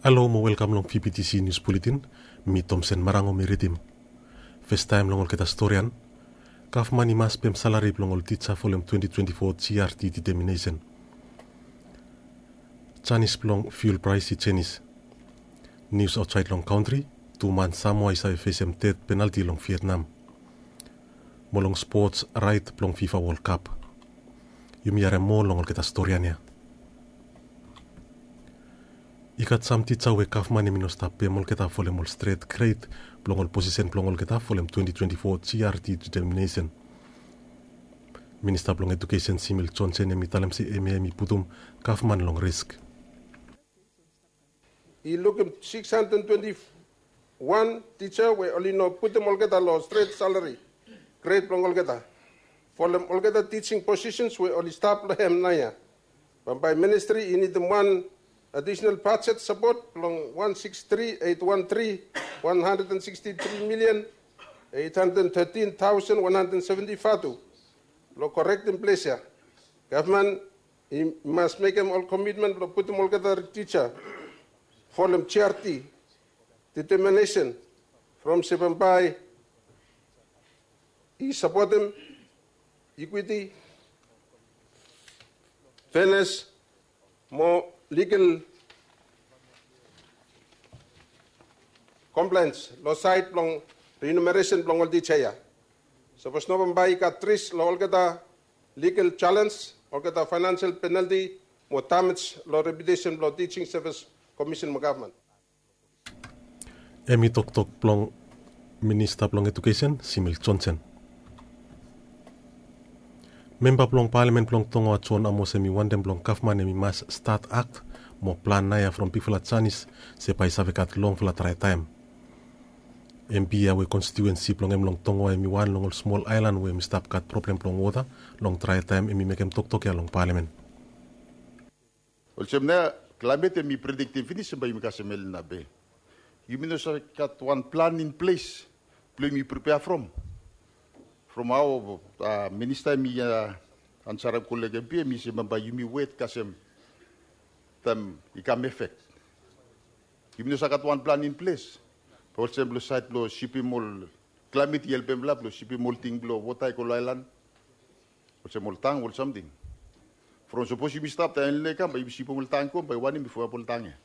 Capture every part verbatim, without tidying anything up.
Halo mo welkam long P B T C News Bulletin. Mi Tomsen Marango mi ridim. Festaem long olgeta storian. Gavman i mas pem salari blong ol tija folem twenty twenty-four G R T determination. Janis blong fuel praes i jenis. Nius aotsaed long kantri. Tu man Samoa i save fesem ded penalti long Vietnam. Mo long spots raet blong FIFA World Cup. Yumi harem moa long olgeta storian ya. I gat sam tija we gavman hemi no stap pem olgeta folem ol stret gred blong ol posisen blong olgeta folem twenty twenty-four G R T determination. Minista blong edukesen Simil Jonsen hemi talem se hemia hemi putum gavman long risk. I lukim six hundred twenty-one tija we oli no putum olgeta long stret salari gred blong olgeta folem olgeta tijing posisens we oli stap long hem naoia. Bambae ministri i nidim wan adisenal bajet sapot blong one six three eight one three one hundred and sixty-three million eight hundred thirteen thousand one hundred seventy vatu blong korektem ples ya. Gavman i mas mekem ol komitmen blong putum olgeta tija folem G R T determination from se bambae i sapotem equity, fairness mo legal compliance long saed blong remuneration blong ol tija ya. Sapos no bambae i gat risk long olgeta legal challenge, olgeta financial penalty mo damage long reputation blong Teaching Service Commission mo gavman. Hemi toktok blong minista blong edukesen Simil Jonsen. Memba blong palamen blong Tongoa John Amos hemi wantem blong gavman hemi mas stat akt mo plan naoia from bigfala janis se bae i save gat longfala draetaem. Hemia we konstitiuensi blong hem long Tongoa hemi wan long ol smol aelan we hemi stap gat problem blong wota long draetaem hemi mekem toktok ya long palamen. Olsem nao klaemet hemi prediktem finis bae yumi kasem El Nino be yumi no save gat wan plan in ples blong yumi pripea from. From hao minista hemi ansarem kolek hemia hemi se bambae yumi wet kasem taem i kam efek. Yumi no save gat wan plan in ples. Be olsem blong saed blong sipim ol klaemet i helpemfala blong sipim ol ting blong wota i go long aelan. Olsem ol tang ol samting. From sapos yumi stap taem El Nino i kam bae yumi sipim ol tang i go bae wanem i fua ol tang ya.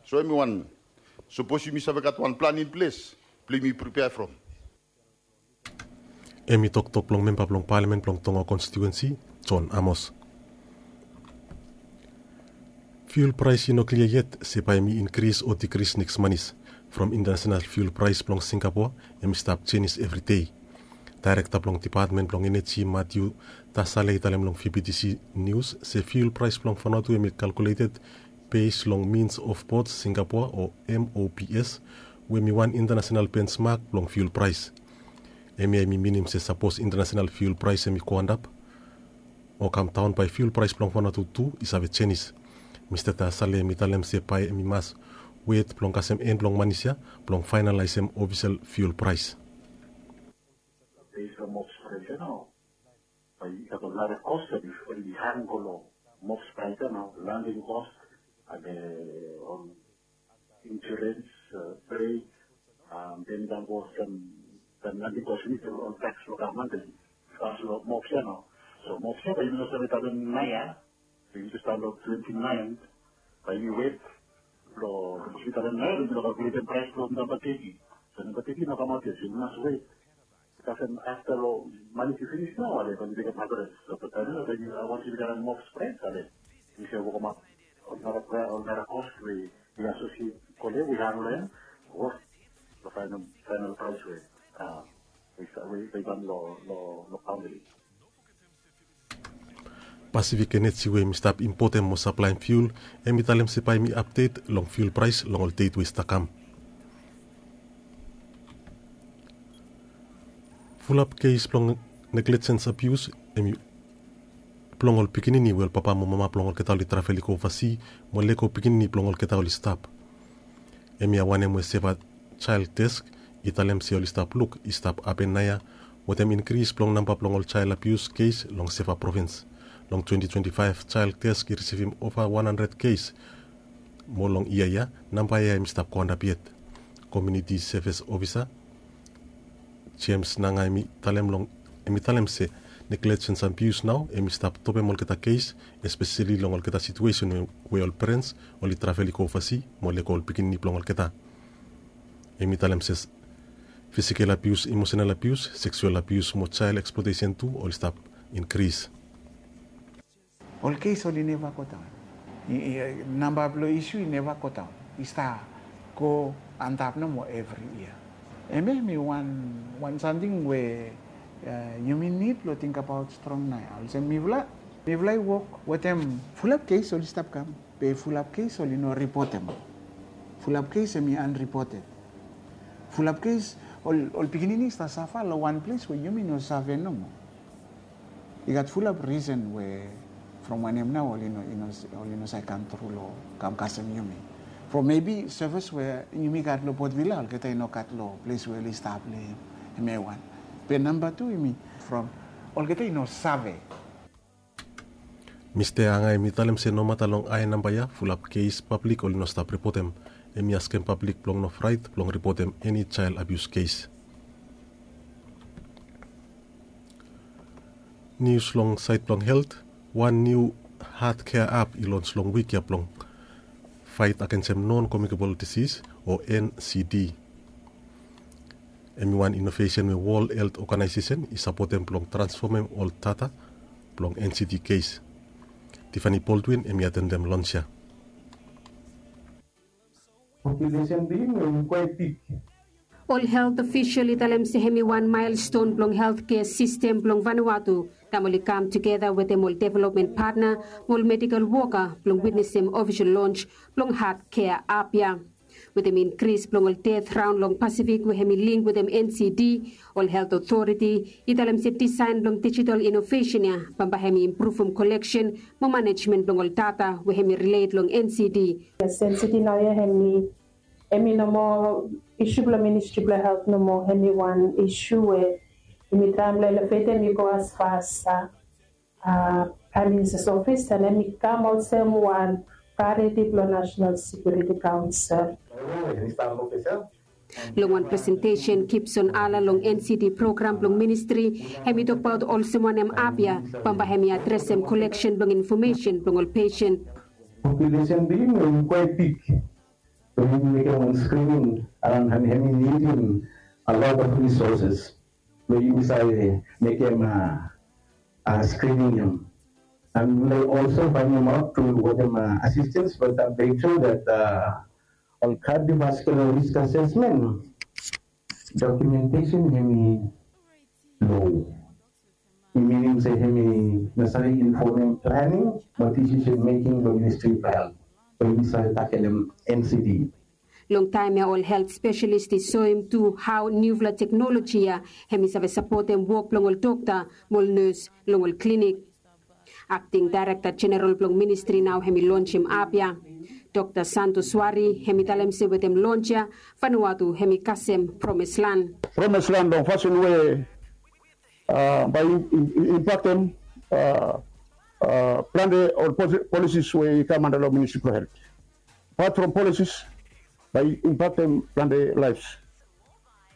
So hemi wan sapos yumi save gat wan plan in ples blong yumi pripea from. Hemi toktok blong memba blong palamen blong Tongoa konstitiuensi John Amos. Fiul praes i no klia yet se bae hemi inkris o dikris neks manis. From intanasenal fiul praes blong Singapoa hemi stap jenis evri dei. Daerekta blong dipatmen blong eneji Matiu Tasale i talem long V B T C Nius se fiul praes blong Vanuatu hemi kalkuleted bes long Means of Ports Singapoa o M O P S we hemi wan intanasenal bensmak blong fiul praes. Hemia hemi minim se sapos intanasenal fiul praes hemi go antap o kamdaon bae fiul praes blong Vanuatu tu i save jenis. Mista Tasale hemi talem se bae hemi mas wet blong kasem en blong manis ya blong faenalaesem ofisel fiul praes. Based on MOPS price ya nao bae i gat ol nara cost ya bae i hang go long MOPS price ya nao, landing cost, ane ol insurance, brake, then i dam go olsem taem landing cost i nid ol tax blong gavman, then i pas long MOPS ya nao. So MOPS ya bae yumi no save talem naoia. Yumi jes talem long twenty nine bae yumi wet long, sapos yumi talem naoia bae yumi no kalkuletem praes blong namba teti. So namba teti i no kamaot yet, so yumi mas wet. Kasem afta long manis i finis nao ale bae yumi mekem average. So taem ya bae yumi, wans yumi talem MOPS praes ale yumi save wokemaot ol nara, ol nara cost we i asosiet, kolem we i hang long hem, wok long faenal, faenal praes we, we, we i kam long, long, long famili. Pacific Energy we hemi stap impotem mo saplaem fiul hemi talem se bae hemi apdet long fiul praes long ol det we i stap kam. Fulap kes blong negligence abuse hemi blong ol pikinini we ol papa mo mama blong olgeta oli travel i go ovasi mo lego pikinini blong olgeta oli stap. Hemia wanem we Seva Child Desk i talem se oli stap luk i stap hapen naoia wetem inkris blong namba blong ol child abuse kes long Seva provins. Long twenty twenty-five Child Desk i risivim ova wan handred kes Mo long yia ya namba ya hem i stap go antap yet. Komiuniti sevis ofisa Jems Nanga hem i talem se neglejens abius nao hem i stap topem olgeta kes, espeseli long olgeta situesen we ol perens oli travel i go ovasi mo lego ol pikinini blong olgeta. Hem i talem se fisikel abius, imosenal abius, seksual abius mo jael eksplotesen tu oli stap inkris. Ol kes oli neva godaon. Namba blong isu i neva godaon, i stap go antap nomo evri yia. Hem ya hem i wan samting we yumi nid blong tingbaot strong nao ya olsem mifala mifala i wok wetem fulap kes oli stap kam, be fulap kes oli no ripotem. Fulap kes hem i anripoted. Fulap kes ol pikinini i stap safa long wan ples we yumi no save nomo. I gat fulap risen we from wanem nao oli no save kam tru long kam kasem yumi. From mebi sevis we yumi gat long potvila olgeta i no gat long ples we oli stap long hem ya i wan. Be namba tu yumi from olgeta i no save. Mista Anga hem i talem se nomata long ae namba ya fulap kes pablik oli no stap ripotem. Hem i askem pablik blong no fraet blong ripotem eni jael abius kes. Nius long saed blong helt. Wan niu hat kea ap i lons long wik ya blong faet agensem non komikabol disis o N C D. Hem i wan inovesen we wol helt oganaesesen i sapotem blong transfomem ol data blong N C D kes. Tifani Boldwin hem i atendem lons ya. Populesen blong yumi hem i kwaet bik. Ol helt ofisol i talem se hem i wan maelston blong heltkea sistem blong Vanuatu taem oli kam tugeta wetem ol developmen patna mo ol medikal woka blong witnesem ofisol lons blong hatkea ap ya. Wetem inkris blong ol ded raon long Pasifik we hem i link wetem N C D, ol helt otoriti i talem se disaen blong dijital inovesen ya bambae hem i impruvum koleksen mo manejmen blong ol data we hem i rilet long N C D. Yes, N C D naoia hem i no moa isu blong Ministri blong Helt nomo, hem i wan isu we yumi traem long elevetem i go asfas Praem Minister's Office, and hem i kam olsem wan praeoriti blong National Security Council. Long wan presentesen Gibson Ala long N C D program blong ministri, hem i tokbaot olsem wanem ap ya bambae hem i adresem koleksen blong infomesen blong ol pesen. Populesen blong yumi hem i kwaet big. Blong yumi mekem wan skrining araon hem hem i nidim a lot of resources blong yumi save mekem a skrining ya. And we also find them out to wetem asistens, but I'm very sure that uh, ol cardiovascular risk assessment documentation hem i low. I minim se hem i no save infomem planning mo decision making blong ministri blong health we yumi save takelem N C D. Long taem ya ol helt spesialis i soem tu hao niufala teknoloji ya hem i save sapotem wok blong ol dokta mo ol nes long ol klinik. Akting Daerekta Jeneral blong ministri nao hem i lonsem ap ya. Dokta Santo Suari hem i talem se wetem lons ya Vanuatu hem i kasem promis lan. Promis lan long fasin we bae i impaktem plante ol polisis we i kam anda long ministri blong helt. Apat from polisis bae i impaktem plante laefs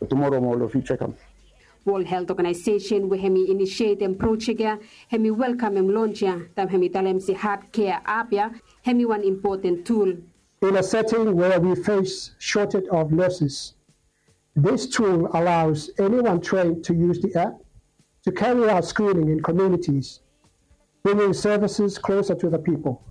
tumora mo long fiuja i kam. Wol Helt Oganaesesen we hem i inisietem projek ya hem i welkamem lons ya taem hem i talem se hatkea ap ya hem i wan impoten tul. In a setting where we face shortage of nurses, this tool allows anyone trained to use the app to carry out screening in communities, bringing services closer to the people.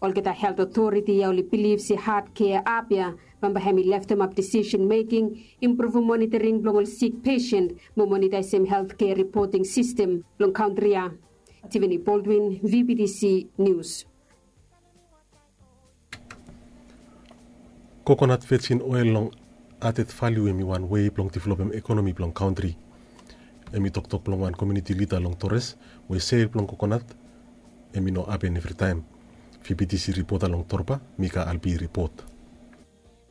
Olgeta helt otoriti ya oli bilif se hatkea ap ya bambae hem i leftemap disisen meking, impruvum monitoring blong ol sik pesen mo monitaesem heltkea ripoting sistem blong kantri ya. Tivini Boldwin, V B T C Nius. Kokonat vejin oel long aded valiu hem i wan wei blong developem ekonomi blong kantri. Hem i toktok blong wan komiuniti lida long Tores we sel blong kokonat hem i no hapen evritaem. V B T C ripota long Torba, Mika Albi ripot.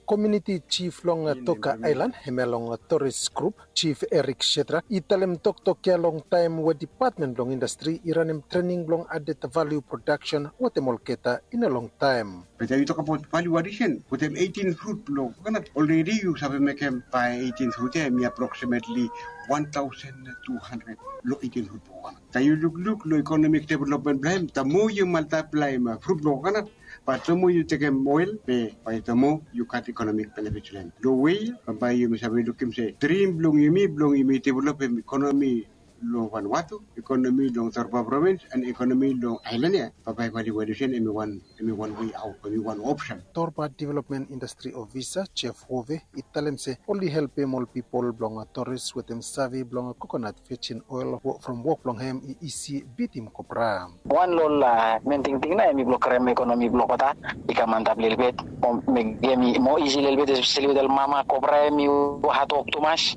Komiuniti jif long Toka Aelan, hemia long Toris Grup, Jif Erik Shedrak i talem toktok ya long taem we dipatmen blong indastri i ranem trening blong adet valiu prodaksen wetem olgeta i no longtaem. Be taem yu tokabaot valiu adisen wetem eitin frut blong kokonat, olredi yu save mekem bae eitin frut ya hemi aproksimetli wan taosen tu handred long eitin frut blong kokonat. Taem yu lukluk long ikonomik developmen blong hem, taem moa yu maltiplaem frut blong kokonat, bae taem moa yu tekem oel be bae taem moa yu gat ikonomik benefits long hem. Long wei ya bambae yumi save lukim se drim blong yumi blong yumi developem ikonomi long Vanuatu, ikonomi long Torba provins and ikonomi long aelan ya, bambae valiu adisen hemi wan, hemi wan wei aot, hemi wan opsen. Torba Developmen Indastri Ofisa Jeff Wove i talem se oli helpem ol pipol blong Toris wetem save blong kokonat vejin oel from wok blong hem i isi bitim kopra. Wan long ol men tingting nao hemi blong karem ekonomi blong olgeta i kam antap lelebet, mo mekem i moa isi lelebet, espeseli wetem ol mama. Kopra hemi hadwok tumas.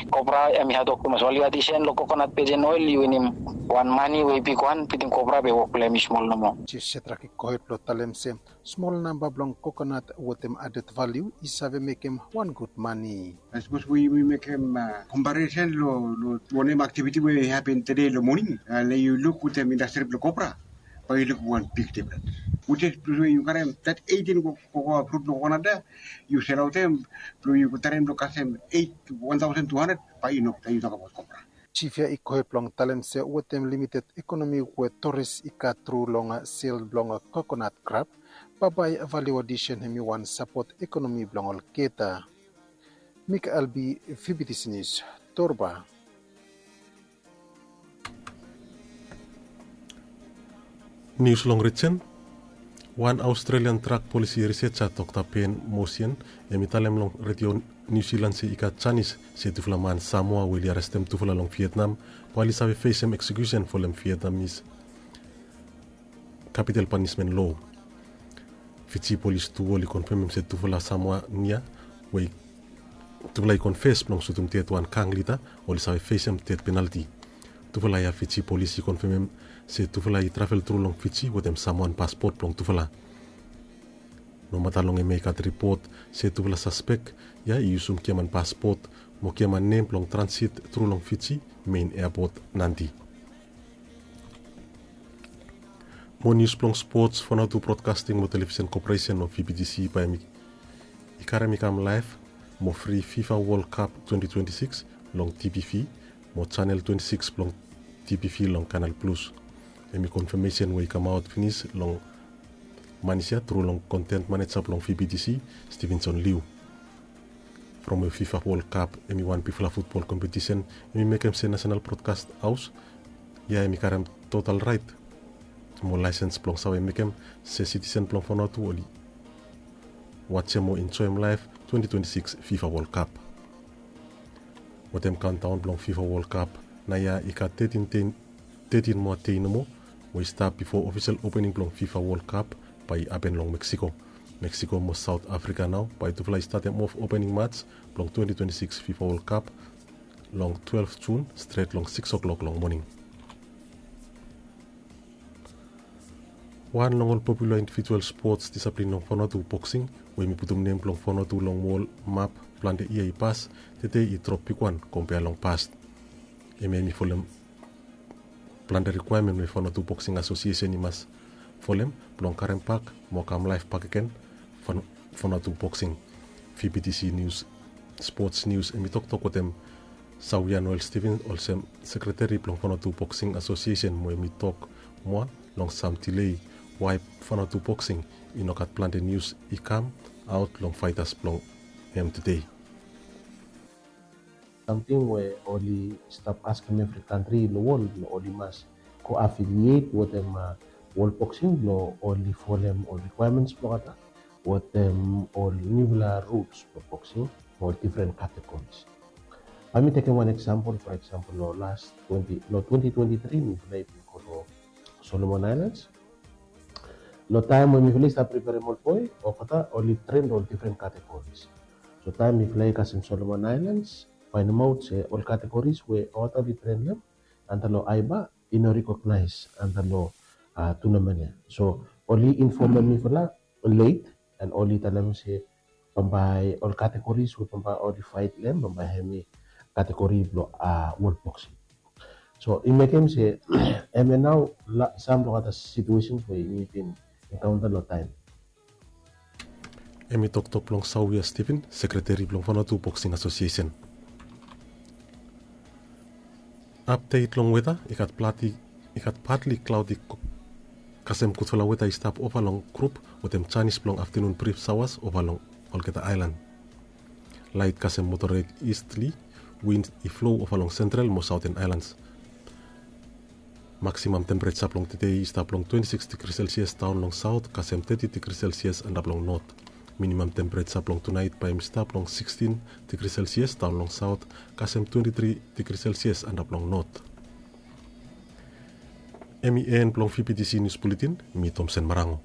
Kopra hemi hadwok tumas. Valiu adisen long kokonat vejin oel i winim wan mane we i bigwan, bitim kopra be wok blong hem i smol nomo. Jef Shedrak i gohed blong talem se smol namba blong kokonat wetem adet valiu i save mekem wan gud mane. Sapos we yumi mekem komparesen long wanem aktiviti we i hapen tede long moning, le yu luk wetem indastri blong kopra, bae yu luk wan big difrens. Which is we yu karem dat eitin kokoa frut blong kokonat ya, yu selaotem blong yu go traem blong kasem eit, wan taosen tu handred, bae i no, taem yu tokabaot kopra. Jif ya i gohed blong talem se wetem limited ekonomi we Toris i gat tru long sel blong kokonat krap, bambae valiu adisen hemi wan sapot ekonomi blong olgeta. Mik Albi, Vibitisi Nius, Torba. Nius long rijen. Wan Australian drak polisi riseja Dokta Ben Mosian hemi talem long redio Niu Silan se i gat janis se tufala man Samoa we oli arestem tufala long Vietnam bae oli save fesem eksekusen folem Vietnamis kapital panismen loa. Fiji polis tu oli konfemem se tufala Samoan ya we tufala i konfes blong sutum ded wan gang lida oli save fesem ded penalti. Tufala ya Fiji polis i konfemem se tufala i travel tru long Fiji wetem Samoan paspot blong tufala. Nomata long hemia i gat ripot se tufala saspek ya i yusum giaman paspot mo giaman nem blong transit tru long Fiji mein eapot Nadi. Mo nius blong spots. Vanuatu Broadcasting mo Television Corporation o V B T C bae hemi i karem i kam laef mo fri FIFA World Cup twenty twenty-six long D B V mo channel twenty-six blong D B V long Canal Plus. Hemi konfamesen we i kamaot finis long manis ya tru long content manager blong V B T C, Stevenson Liu. From we FIFA World Cup hemi wan bigfala futbol kompetisen, hemi mekem se National Broadcast House ya hemi karem total raet mo laesens blong save mekem se sitisen blong Vanuatu oli wajem mo enjoem laef twenty twenty-six FIFA World Cup. Wetem kaontaon blong FIFA World Cup, naoia i gat tetin dei, tetin moa dei nomo we i stap bifo ofisol opening blong FIFA World Cup bae i hapen long Mexico. Mexico mo Saot Afrika nao bae tufala i statem of opening mats blong twenty twenty-six FIFA World Cup long twelve Jun stret long sikis o'clock long moning. Wan long ol popula indivijual spots disaplin long Vanuatu, boksing, we hemi putum nem blong Vanuatu long wol map plante yia i pas, tede i drop bigwan kompea long past. Hemia hemi folem plante rikwaemen we Vanuatu Boksing Asosiesen i mas folem blong karem bak mo kam laef bakegen Vanuatu boksing. V B T C Nius, Spots Nius hemi toktok wetem Sauya Noel Stevens olsem sekreteri blong Vanuatu Boksing Asosiesen mo hemi tok moa long sam delei wae Vanuatu boksing i no gat plante nius i kamaot long faetas blong hem tede. Samting we oli stap askem evri kantri long wol blong oli mas go afiliet wetem wol boksing blong oli folem ol rikwaemens blong olgeta wetem ol niufala ruls blong boksing long ol difren kategoris. Bae mi tekem wan eksampol, fo eksampol long las twenti, long twenti twenti tri mifala i bin go long Solomon Aelans. Long taem we mifala i stap priperem ol boe, olgeta oli tren long ol difren kategoris. So taem mifala i kasem Solomon Aelans, faenemaot se ol kategoris we olgeta oli tren long hem antap long AIBA i no rekognaes antap long tunamen ya. So oli infomem mifala let and oli talem se bambae ol categories we bambae oli fight long hem bambae hemi category blong world boxing. So i mekem se hemia nao sam long other situations we yumi bin encounter long taem. Hemi toktok blong Sawia Stephen, sekreteri blong Vanuatu Boxing Association. Update long weta, i gat plati, i gat partly cloudy, kasem gudfala weta i stap ova long grup wetem janis blong aftenun brif sawas ova long olgeta aelan. Lait kasem moderate easterly wind i flow ova long central mo southern islands. Maximum temperature blong tedei i stap long twenty six degree celsius daon long south kasem thirty degree celsius antap long north. Minimum temperature blong tunait bae i stap long sixteen degree celsius daon long south kasem twenty three degree celsius antap long north. Hemi en blong vptc news bulletin. Mi Thomson Marango.